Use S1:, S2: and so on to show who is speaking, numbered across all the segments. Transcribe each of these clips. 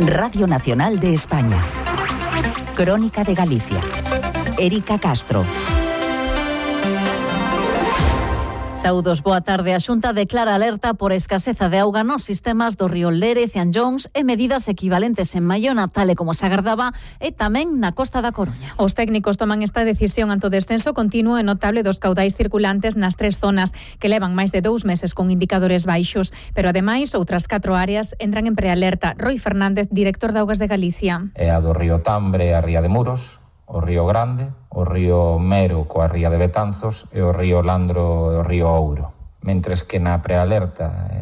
S1: Radio Nacional de España. Crónica de Galicia. Erika Castro. Saúdos, boa tarde. A Xunta declara alerta por escaseza de auga nos sistemas do río Lérez e Anllóns e medidas equivalentes en Maiona, tal e como se agardaba, e tamén na Costa da Coruña.
S2: Os técnicos toman esta decisión ante o descenso continuo e notable dos caudais circulantes nas 3 zonas que levan máis de 2 meses con indicadores baixos, pero ademais outras 4 áreas entran en prealerta. Roi Fernández, director de Augas de Galicia.
S3: É a do río Tambre e a Ría de Muros, o río Grande, o río Mero coa ría de Betanzos e o río Landro e o río Ouro. Mentres que na prealerta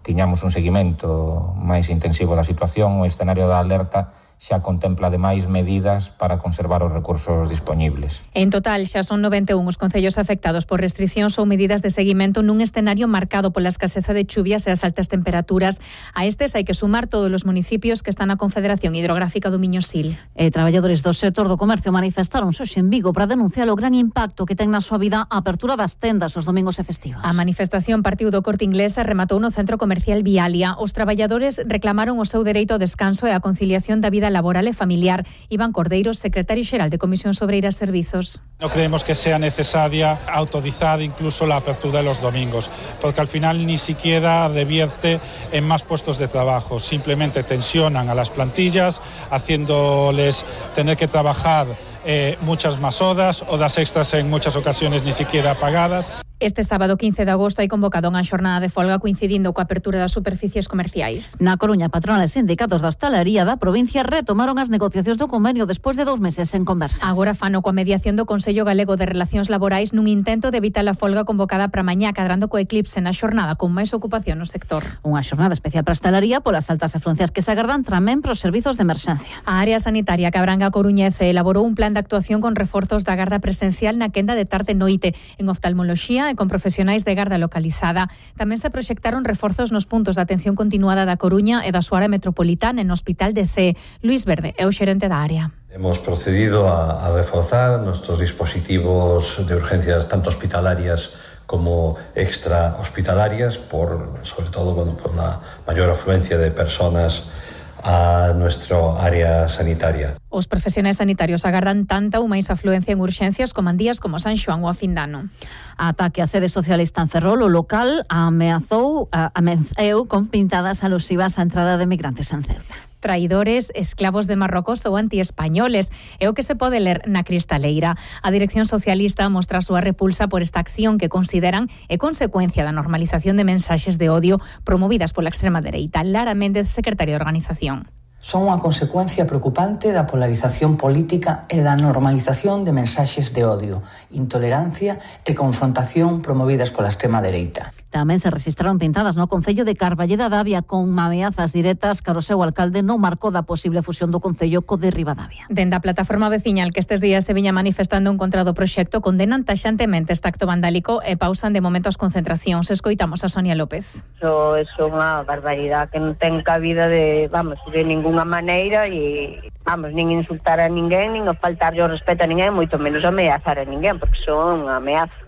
S3: tiñamos un seguimento máis intensivo da situación, o escenario da alerta xa contempla ademais medidas para conservar os recursos dispoñibles.
S2: En total, xa son 91 os concellos afectados por restriccións ou medidas de seguimento nun escenario marcado pola escaseza de chuvias e as altas temperaturas. A estes hai que sumar todos os municipios que están na Confederación Hidrográfica do Miño-Sil.
S1: Traballadores do sector do comercio manifestaronse hoxe en Vigo para denunciar o gran impacto que ten na súa vida a apertura das tendas os domingos e festivos.
S2: A manifestación partiu do Corte Inglés e rematou no centro comercial Vialia. Os traballadores reclamaron o seu dereito ao descanso e a conciliación da vida laboral e familiar. Iván Cordeiros, secretario xeral de Comisión Obreira e Servizos.
S4: No creemos que sea necesaria autorizar incluso la apertura de los domingos, porque al final ni siquiera revierte en más puestos de trabajo, simplemente tensionan a las plantillas, haciéndoles tener que trabajar muchas más horas extras en muchas ocasiones ni siquiera pagadas.
S2: Este sábado 15 de agosto hai convocado unha xornada de folga coincidindo coa apertura das superficies comerciais.
S1: Na Coruña, patronales e sindicatos da hostalería da provincia retomaron as negociacións do convenio despois de 2 meses en conversas.
S2: Agora fano coa mediación do Consello Galego de Relacións Laborais nun intento de evitar a folga convocada para mañá, cadrando co eclipse na xornada con máis ocupación no sector.
S1: Unha xornada especial para a hostalería polas altas afluencias que se agardan tamén pros servizos de emerxencia.
S2: A área sanitaria que abranga a Coruña elaborou un plan de actuación con reforzos da garda presencial na quenda de tarde e noite en oftalmoloxía e con profesionais de garda localizada. Tamén se proxectaron reforzos nos puntos de atención continuada da Coruña e da súa área metropolitana en Hospital de C. Luis Verde é o xerente da área.
S5: Hemos procedido a reforzar nuestros dispositivos de urgencias tanto hospitalarias como extra hospitalarias, sobre todo por la mayor afluencia de personas a nuestro área sanitaria.
S2: Os profesionais sanitarios agardan tanta ou máis afluencia en urxencias como en días como San Xoán ou a fin de ano.
S1: Ataque á sede socialista en Ferrol, o local ameazou con pintadas alusivas á entrada de migrantes en Ceuta.
S2: Traidores, esclavos de Marrocos ou antiespañoles. É o que se pode ler na Cristaleira. A dirección socialista mostra a súa repulsa por esta acción que consideran é consecuencia da normalización de mensaxes de odio promovidas pola extrema dereita. Lara Méndez, secretaria de organización.
S6: Son unha consecuencia preocupante da polarización política e da normalización de mensaxes de odio, intolerancia e confrontación promovidas pola extrema dereita.
S1: Tamén se registraron pintadas no Concello de Carballeda da Avia con ameazas directas cara ao seu alcalde no marco da posible fusión do Concello co de Ribadavia.
S2: Dende a plataforma veciñal que estes días se viña manifestando en contra do proxecto, condenan taxantemente este acto vandálico e pausan de momento as concentracións. Escoitamos a Sonia López.
S7: Eso é unha barbaridade que non ten cabida de ningunha maneira e, nin insultar a ninguén, nin faltarlle o respeto a ninguén, moito menos ameazar a ninguén, porque son unha ameaza.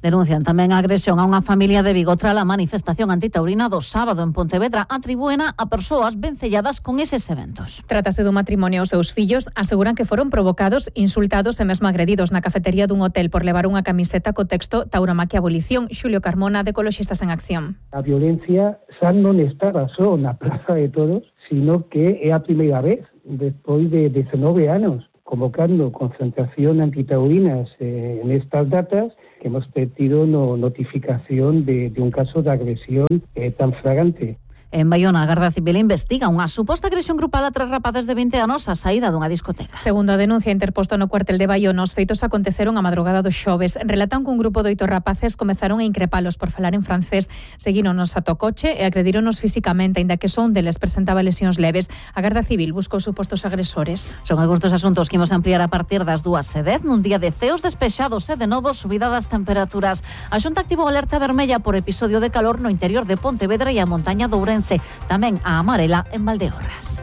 S1: Denuncian tamén a agresión a unha familia de Vigo tras a manifestación antitaurina do sábado en Pontevedra. Atribúena a persoas vencelladas con eses eventos.
S2: Trátase dun matrimonio. Os seus fillos aseguran que foron provocados, insultados e mesmo agredidos na cafetería dun hotel por levar unha camiseta co texto Tauromaquia Abolición. Xulio Carmona, de Ecoloxistas en Acción.
S8: A violencia xa non estaba só na Praza de Toros, sino que é a primeira vez despois de 19 anos convocando concentración antitaurinas en estas datas que hemos tenido notificación de un caso de agresión tan flagrante.
S1: En Baiona, a Garda Civil investiga unha suposta agresión grupal a 3 rapaces de 20 anos á saída dunha discoteca.
S2: Segundo a denuncia interposta no cuartel de Baiona, os feitos aconteceron a madrugada do xoves. Relatan que un grupo de 8 rapaces comezaron a increpalos por falar en francés, seguíronos ata o coche e agredíronos físicamente, aínda que son deles presentaba lesións leves. A Garda Civil buscou supostos agresores.
S1: Son algúns dos asuntos que imos ampliar a partir das 2:10 nun día de ceos despexados e de novo subida das temperaturas. A Xunta activou alerta vermella por episodio de calor no interior de Pontevedra e a montaña de Ourense. Tamén a amarela en Valdeorras.